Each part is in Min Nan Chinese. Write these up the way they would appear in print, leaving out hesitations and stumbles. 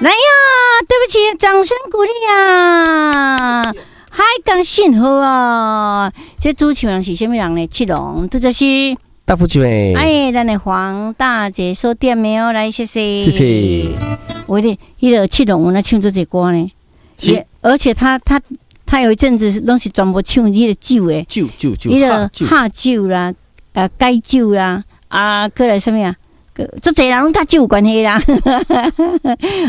來呀，對不起，掌聲鼓勵啊！海港信號啊，這主持人是啥物人呢？七龍，這就是大富泉。哎，咱的黃大姐所點的哦，來，謝謝。謝謝。我的彼个七龍，有咧唱這隻歌呢，也而且他有一陣子攏是全部唱彼個酒的，酒酒酒，彼个哈酒啦，解酒啦，啊，閣來啥物啊？足濟人攏佮酒有關係啦。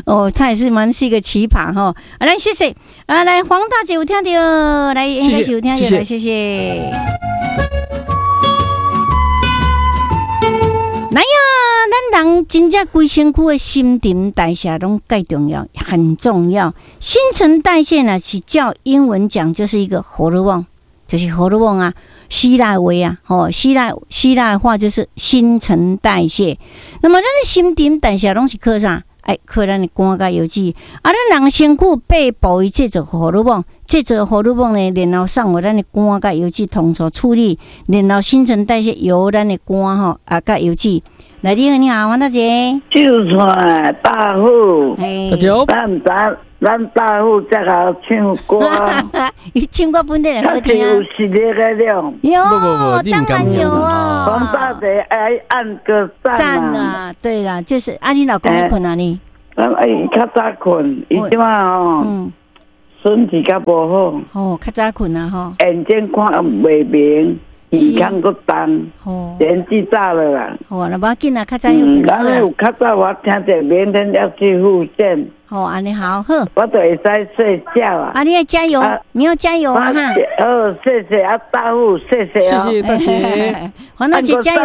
哦，他也是蠻是一個奇葩吼。啊，來謝謝，啊，來黃大姐有聽著，來應該是有聽著，來謝謝。來呀，咱人真正規身軀的新陳代謝攏蓋重要，很重要。新陳代謝呢，是照英文講就是一個荷爾蒙，就是荷爾蒙啊，希臘話啊，吼，希臘話就是新陳代謝。那麼咱的新陳代謝攏是靠啥？哎，靠咱的肝佮腰子。啊，咱人身軀八部位製造荷爾蒙，製造荷爾蒙呢，然後送予咱的肝佮腰子統籌處理，然後新陳代謝由咱的肝吼啊佮腰子。來，你好，你好，黃大姐。就算大富，大姐好。咱大富才會唱歌，伊唱歌本地好聽。有實力的了。有，當然有啊。黃大姐愛按個讚啊！對啦，就是啊，你老公咧睏啊你？咱伊較早睏，伊這擺吼，身體較無好。哦，較早睏啊吼。眼睛看袂明，耳孔閣重，年紀大了啦。好，那無要緊啊，較早有。咱有較早我聽著，明天要去復健。好，按呢好，好。我就會使睡覺啊。啊，你要加油，你要加油啊！哈。哦，謝謝啊，大富，謝謝啊。謝謝大姐。黃大姐加油！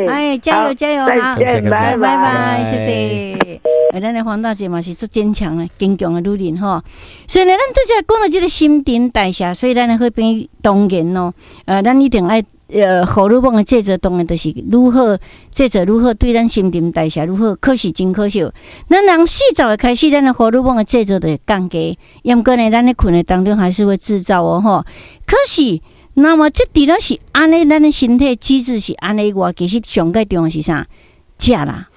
哎，加油加油！再見，拜拜拜，謝謝。哎，咱的黃大姐嘛是足堅強的、堅強的女人吼。所以呢，咱拄才講到這個新陳代謝，所以咱的好朋友當然咯，咱一定愛。荷爾蒙的製造當然就是如何製造，如何對咱新陳代謝如何，可是真可惜。咱人40歲開始，咱的荷爾蒙的製造就會降低。毋過呢，咱咧睏的當中還是會製造哦吼。可是，那麼這除了是按呢，咱的身體機制是按呢以外，其實上蓋重要是啥？食啦，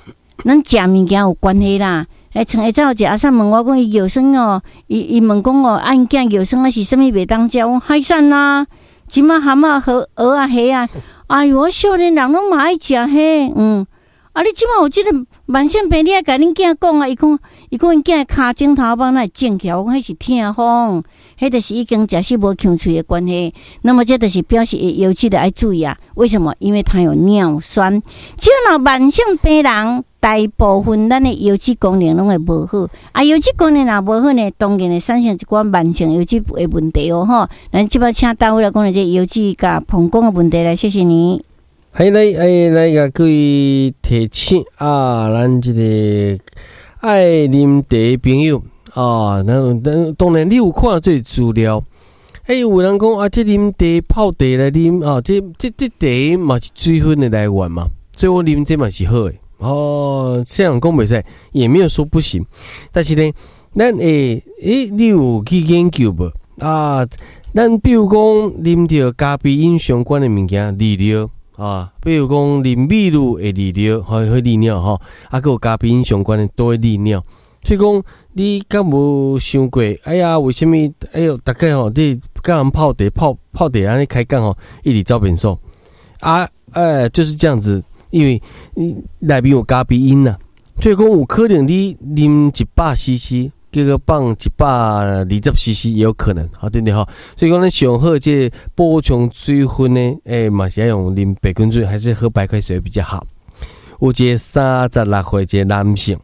咱食物件有關係啦。欸，像下晝有一個阿嬸問我講，伊尿酸哦，伊問講哦，啊，𪜶囝尿酸啊是啥物袂當食？我講海產啊。這馬蚶仔、河蚵仔、蝦啊，哎喲，我少年人攏嘛愛食蝦，嗯。啊，你這馬有這個慢性病，你愛共恁囝講啊。伊講𪜶囝跤指頭踭哪會腫起來？我講彼是痛風，彼就是已經食死無劊喙的關係。那麼這就是表示伊腰子著愛注意啊。為什麼？因為他有尿酸。只要若慢性病人，大部分咱的腰子功能攏會無好。啊，腰子功能若無好呢，當然會產生一寡慢性腰子的問題哦。吼，咱這擺請大夫來講這腰子佮膀胱的問題來，謝謝你。嘿，來，哎，來，共各位提醒啊，咱這個愛啉茶的朋友啊，咱當然你有看這資料，欸，有人講啊，這啉茶泡茶來啉啊，這茶嘛是水分的來源嘛，所以我啉這嘛是好的哦。這樣講袂使，也沒有說不行，但是呢，咱會，欸，你有去研究無？啊，咱比如講啉著咖啡因相關的物件，利尿。啊，比如講啉美祿會利尿，會利尿吼，啊，閣有咖啡因相關的都會利尿。所以講，你敢無想過？哎呀，為啥物？哎喲，逐家吼，你佮人泡茶、泡泡茶按呢開講吼，一直走便所。啊，哎，就是這樣子，因為內面有咖啡因呐，所以講有可能你啉100 CC，結果放120 CC 也有可能，好對不對吼？所以講，咱上好這補充水分呢，欸，嘛是愛用啉白滾水，還是喝白開水比較好。有一個36歲一個男性，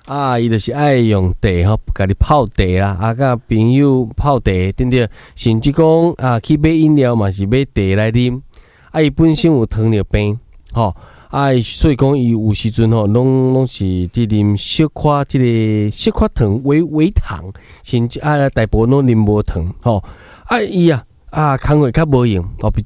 啊，伊就是愛用茶吼，家己泡茶啦，啊，佮朋友泡茶，對不對？甚至講啊，去買飲料嘛是買茶來啉。啊，伊本身有糖尿病，吼。啊，所以講伊有時陣吼，攏是佇啉小可這個小可糖、微微糖，甚至啊大部分攏啉無糖，吼。啊，伊啊啊工課較無閒，哦，比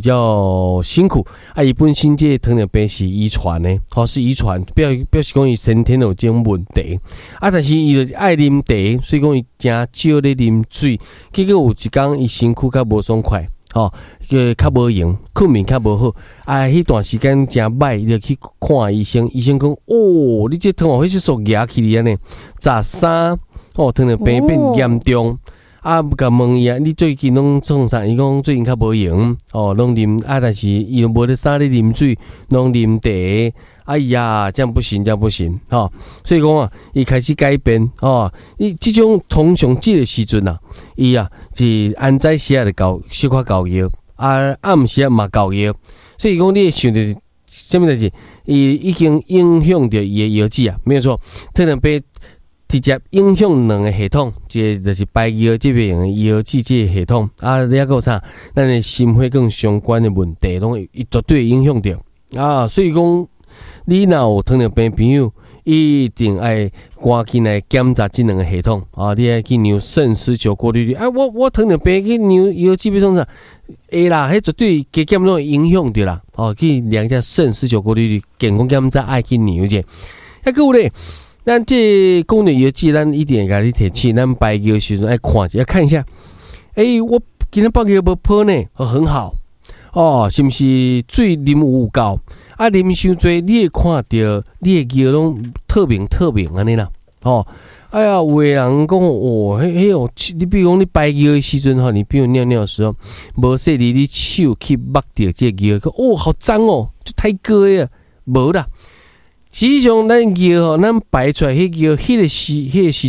較辛苦。啊，伊本身這個糖尿病是遺傳的，吼，是遺傳，表示講伊先天有這種問題。啊，但是伊就是愛啉茶，所以講伊誠少咧啉水，結果有一工伊身軀較無爽快。吼，个較無閒，睏眠較無好，啊，彼段時間誠歹，伊就去看醫生，醫生講，哦，你這糖化血色素壓起來按呢，13，哦，糖尿病變嚴重。啊，共問伊啊，你最近攏創啥？伊講最近較無閒，哦，攏啉啊，但是伊又無咧啥咧啉水，攏啉茶。哎呀，這樣不行，這樣不行，吼。所以講啊，伊開始改變，吼。伊這種通常這個時陣啊，伊啊是按早時啊就猴小可猴尿，啊暗時啊嘛猴尿，所以講你會想著啥物代誌？伊已經影響著伊的腰子啊，沒有錯，糖尿病直接影響兩個系統，一個就是排尿這邊的腰子這個系統，啊，你還閣有啥？咱的心血管相關的問題，攏會絕對影響著啊。所以講，你若有糖尿病朋友，一定愛趕緊來檢查這兩個系統啊！你愛去量腎絲球過濾率啊！我糖尿病去量腰子欲創啥？會啦，彼絕對加減攏會影響著啦。哦，去量一下腎絲球過濾率，健康檢查愛去量一下。啊，閣有咧，咱這講著藥劑，咱一定會共你提醒，咱排尿時陣愛看一下，看一下。欸，我今仔放尿無泡呢，哦，很好。哦，是毋是水啉有夠？啊，啉傷濟，你會看著你的尿攏透明透明按呢啦。哦，哎呀，有的人講哦，彼彼哦，你比如講你排尿的時陣吼，你比如尿尿的時候，無細膩，你手去摸著這個尿，哦，好髒哦，就太過啊，無啦。實際上，咱尿吼，咱排出來彼尿，彼個時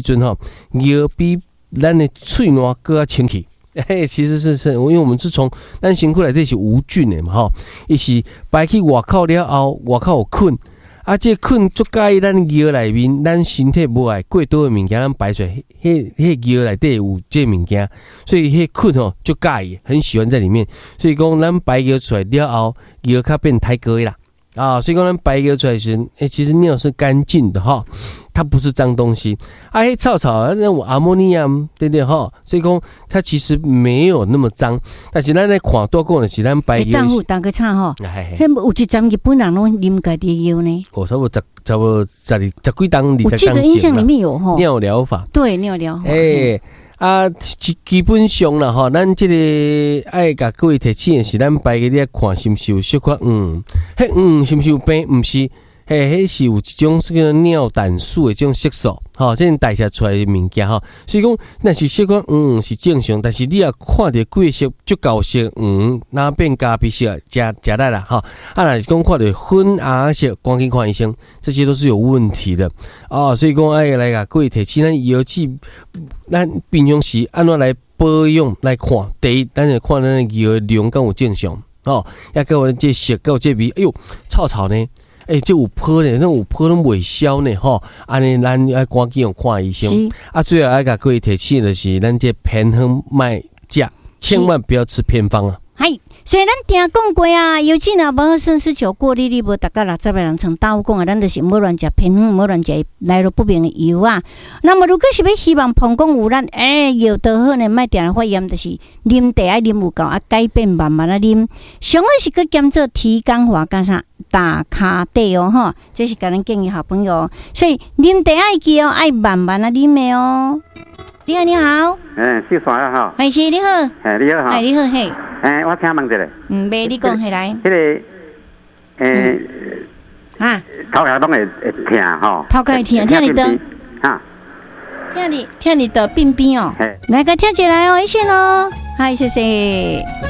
陣吼，尿比咱的喙瀾閣較清氣。嘿，其實是因為我們是從咱身軀內底是無菌的嘛，吼，伊是排去外口了後，外口有菌，啊，這個菌足佮意咱尿內面，咱身體無愛過多的物件，咱排出來，彼尿內底有這個物件，所以彼菌吼足佮意，很喜歡在裡面，所以講咱排尿出來了後，尿較變歹過啦。啊，所以講咱排尿出來時，欸，其實尿是乾淨的哈，它不是髒東西。啊，彼臭臭，那有阿摩尼亞，對不對哈？所以講它其實沒有那麼髒。但是咱來看多講的是咱排尿。欸，當個差吼，彼有一陣日本人攏啉家己尿呢。哦，差不多十，差不多十二十幾冬，我記得印象裡面有吼。尿療法。對，尿療法。欸，啊，基本上啦吼，咱這個愛共各位提醒的是，咱排個你愛看是毋是有小可黃，彼黃是毋是有病？毋是，嘿，彼是有一種叫做尿膽素的這種色素，吼，這種代謝出來的物件吼。所以講，若是小可黃是正常，但是你若看著規色足夠色黃，那變咖啡色，誠誠力啦，吼。啊，若是講看著粉紅色，趕緊看醫生，這些都是有問題的啊。所以講愛來共各位提醒，咱腰子，咱平常時按怎來保養來看？第一，咱就看咱的尿的量敢有正常，吼，抑閣有這色，閣有這味，哎喲，臭臭呢。欸，這有泡呢，那有泡攏袂消呢，吼！按呢，咱愛趕緊看醫生。啊，最後愛共各位提醒的是，咱這偏方莫食，千萬不要吃偏方啊！係，所以咱定講過啊，尤其若無腎絲球過濾率無達到60的人，像頭講啊，咱就是毋好亂食偏方，毋好亂食來路不明的藥啊。那麼如果是欲希望膀胱有力，欸，尿道好呢，莫定定發炎，就是啉茶愛啉有夠啊，改變慢慢仔啉。上好是閣兼做體感化佮啥打卡底哦，吼，這是共咱建議好朋友。所以啉茶愛記哦，愛慢慢仔啉的哦。你好，你好。嗯，秀山啊，吼。係是，你好。嘿，你好，哈。係你好，嘿。欸，我請問一下。嗯，袂，你講起來。彼個，欸，啊，頭殼攏會會疼吼。頭殼會疼，疼佇佗？哈。疼佇疼佇佗鬢邊哦。來，共聽一下哦，一線哦。嗨，謝謝。